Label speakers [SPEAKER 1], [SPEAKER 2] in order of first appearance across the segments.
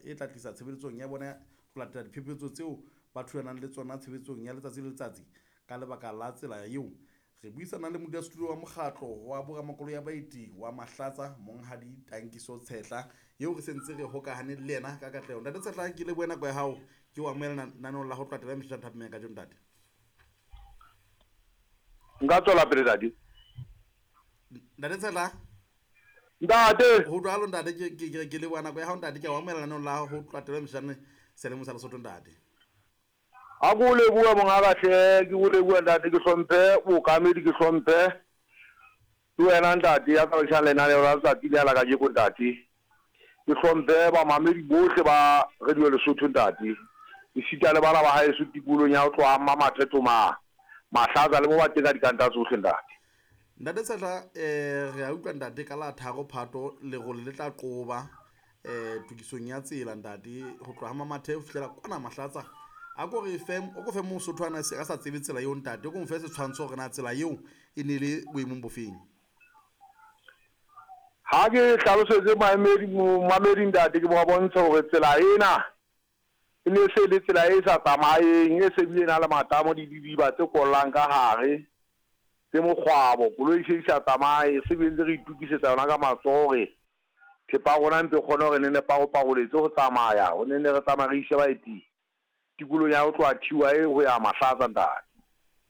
[SPEAKER 1] E tla tlisa tshebeletsong ya bona ho latela diphephetso tseo ba thulanang le tsona tshebetsong ya letsatsi le letsatsi ka lebaka la tsela eo. Re buisana le modulasetulo wa mokgatlo wa boramakoloi ya baeti wa Mahlatsa, Monghadi Tankiso Tshehla, eo re sentse re hokahane le yena ka katleho. Ntate Tshehla, ke lebohe nako ya hao, ke o amohela lenaneong la ho tloha taba ya thapameng ya kajeno, ntate.
[SPEAKER 2] Nka tswela pele, ntate.
[SPEAKER 1] Ntate Tshehla.
[SPEAKER 2] Ntate.
[SPEAKER 1] Ho jwalo, ntate, ke leboha nako ya hao, ntate, ke a o amohela lenaneong la ho tloha taba ya meshane selemo sa Lesotho, ntate.
[SPEAKER 2] A ke o lebohe mongaka hle, ke o lebohe ntate, ke hlomphe bookamedi, ke hlomphe le wena ntate ya tsamaisang lenaneo la letsatsi lena la kajeko ntate. Ke hlomphe bamamedi bohle ba Radio Lesotho ntate, esita le bana ba haeso tikolong ya ho tloha Mmamathe Toma, Mahlatsa le mo ba teng ka dikanta tsohle ntate.
[SPEAKER 1] Ntate Tshehla, eh, re a utlwa ntate ka la 3 Phato lerole le tla qoba eh tokisong ya tsela ntate ho tloha Mamathe ho fihlela kwana Mahlatsa. A ko re fe, o ko fe Mosotho ana a sa tsebe tsela eo ntate, o ko mo fe setshwantsho hore na tsela eo e ne le boemong bofeng.
[SPEAKER 2] Ha ke hlalosetse maemedi, momamedi ntate, ke mo bontshe hore tsela ena e ne se le tsela e sa tsamayeng, e se bile e na le matamo le didiba tse kollang ka hare, tse mokgwabo. Koloi e se di sa tsamaye, se bile ntse re itokisetsa yona ka matsoho hore thepa ya rona e mpe e kgone hore ne ne paroparoletse ho tsamaya, ho ne ne re tsamaya re ise baeti tikolong ya ho tloha TYA ho ya Mahlatsa, ntate.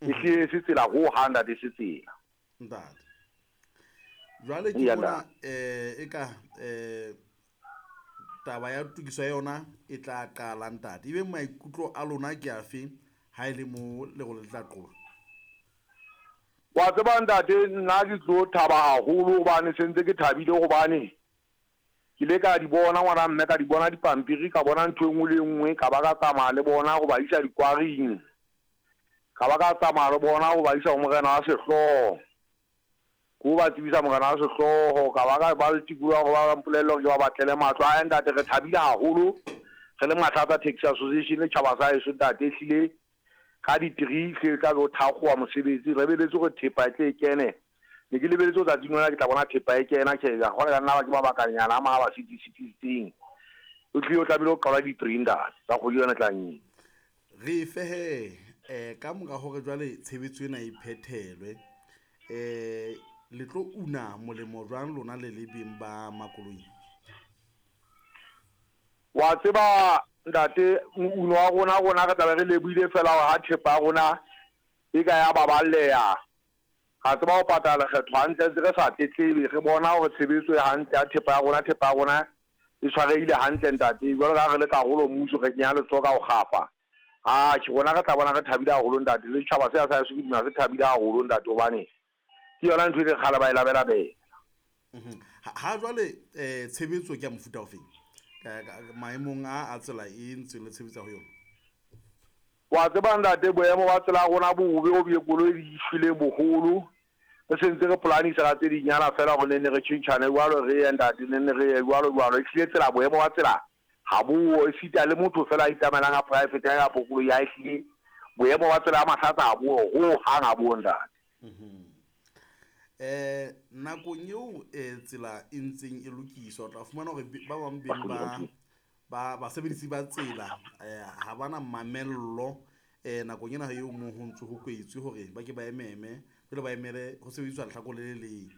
[SPEAKER 2] E hlile e se tsela ho hang, ntate, e se tsela.
[SPEAKER 1] Ntate. Jwale ke
[SPEAKER 2] Eya,
[SPEAKER 1] bona
[SPEAKER 2] ntate.
[SPEAKER 1] Eka taba ya tokiso ya yona e tla qala, ntate. Ebe maikutlo a lona ke afe ha e le mo lerole le tla qoba?
[SPEAKER 2] Wa tseba ntate, nna ke tlo thaba haholo hobane se ntse ke thabile hobane ke ile ka di bona ngwana mme, ka di bona dipampiri, ka bona ntho e nngwe le e nngwe, ka ba ka tsamaya le bona ho ba isa dikwaring, ka ba ka tsamaya le bona ho ba isa ho morena wa sehlooho, ke ho ba tsebisa morena wa sehlooho, ka ba ka ba le tikoloho ya hore ba mpolelle hore ke ba batlele matlo. Ae ntate, re thabile haholo re le Mahlatsa Taxi Association le tjhaba sa heso ntate, ehlile Ka di three hle tla be o thakgowa mosebetsi, re lebeletse hore thepa e tle e kene. Ne ke lebeletse hore tsatsing lena ke tla bona thepa e kena, tjhe jwale ka nna ba ke mabakanyana a mang a ba sitisitseng. O hlile o tlamehile ho qala di three ntate tsa kgwedi yona e tlang ena.
[SPEAKER 1] Re fe he ka mora hore jwale tshebetso ena e phethelwe, le tlo una molemo jwang lona le le beng ba makoloi?
[SPEAKER 2] Wa tseba ntate, mouno wa rona, rona re tla be re lebohile feela hore ha thepa ya rona e ka ya baballeha, ra tseba ho patala lekgetho hantle ntse re sa tletlebe, re bona hore tshebetso e hantle ya thepa ya rona, thepa ya rona e tshwarehile hantle ntate, jwalo ka ha re le karolo mmuso re kenya letsoho ka ho kgafa. Atjhe, rona re tla bona re thabile haholo ntate, le setjhaba sena sa heso ke dumela se thabile haholo ntate hobane ke yona ntho e leng kgale ba e labelabela.
[SPEAKER 1] Ha jwale tshebetso ke ya mofuta ofeng maemong a a tsela e ntseng le tshebetsa ho yona?
[SPEAKER 2] Wa tseba ntate, boemo ba tsela ya rona bo bobe ho bile koloi di shweleng boholo. Re sentse re polanisa ka tse dinyana feela hore ne ne re tjhentjhane jwalo re ye ntate, ne ne re ye jwalo jwalo. Ehlile tsela, boemo ba tsela ha bo, esita le motho feela a itsamaelang a private ya kapo koloi ya ehlile boemo ba tsela ya Mahlatsa ha bo ho hang ha bo ntate.
[SPEAKER 1] Nakong eo tsela e ntseng e lokiswa, o tla fumana hore ba bang beng ba ba basebedisi ba tsela ha ba na mamello nakong ena eo mo ho ntse ho kwetswe hore ba ke ba ememe jwale ba emele ho sebediswa lehlakore le le leng.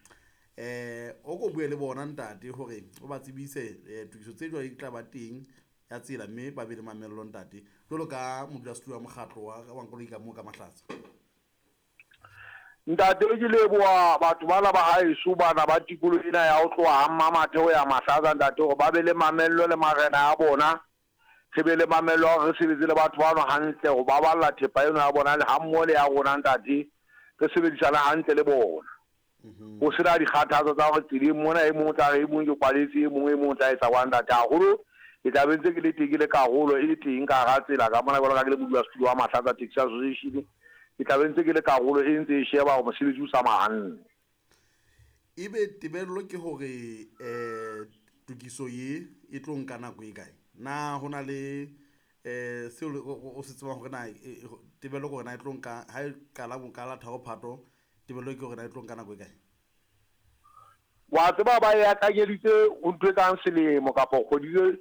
[SPEAKER 1] O ko bue le bona ntate hore o ba tsebise tokiso tse jwale di tla ba teng ya tsela, mme ba be le mamello ntate, jwalo ka modulasetulo wa mokgatlo wa makoloi ka moo ka Mahlatsa.
[SPEAKER 2] Ntate, ke leboha batho bana ba haeso bana ba tikoloho ena ya ho tloha ha Mmamathe ho ya Mahlatsa ntate hore ba be le mamello le marena a bona. Re be le mamello ya hore re sebetse le batho bano hantle ho baballa thepa eno ya bona le hammoho le ya rona ntate, re sebedisane hantle le bona. Ho sena dikgathatso tsa hore tseleng mona e mong o tla re e mong ke kwaletse, e mong e mong o tla etsa kwang ntate. Haholo ke tla be ntse ke le teng ke le karolo e teng ka hara tsela ka mona jwalo ka ke le modulasetulo wa Mahlatsa Taxi Association, ke tla be ntse ke le karolo e ntse e sheba hore mosebetsi o tsamaya hantle.
[SPEAKER 1] Ebe tebello ke hore tokiso ye e tlo nka nako e kae? Na ho na le seo o se tsebang hore na tebello ke hore na e tlo nka ha e qala ka la 3 Phato, tebello ke hore na e tlo nka nako e kae?
[SPEAKER 2] Wa tseba ba e akanyeditse ho ntho e kang selemo kapa kgwedi tse.